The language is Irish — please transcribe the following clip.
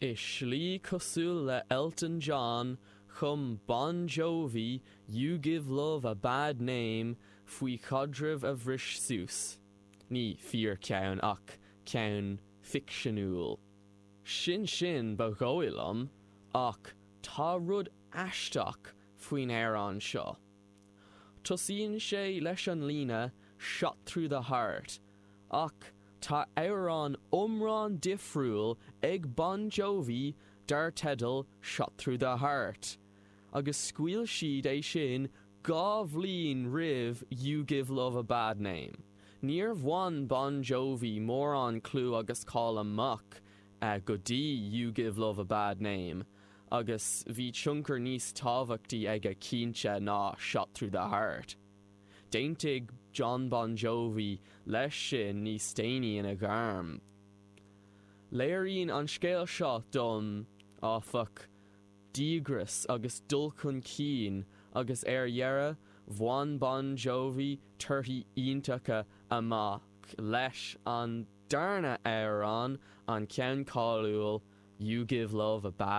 I slí cosúil le Elton John, chum Bon Jovi You Give Love a Bad Name faoi chaidreamh a bhris suas. Ní fíorcheann ach ceann ficseanúil. Sin sin ba dhóigh liom, ach tá rud aisteach faoin amhrán seo. Tosaíonn sé leis an líne 'Shot through the heart' ach tá amhrán iomlán difriúil ag Bon Jovi dar teideal 'Shot Through the Heart' agus scaoil siad é sin 2 bhliain roimh You Give Love a Bad Name. Níor bhain Bon Jovi mórán clú agus cáil amach go dtí You Give Love a Bad Name agus bhí tionchar níos tábhachtaí aige cinnte ná Shot Through the Heart. D'aontaigh Jon Bon Jovi leis sin níos déanaí ina ghairm. Léiríonn an scéal seo dom, áfach, díograis agus dul chun cinn agus ar dheireadh, bhain Bon Jovi torthaí iontacha amach leis an darna amhrán, an ceann cáiliúil You Give Love a Bad.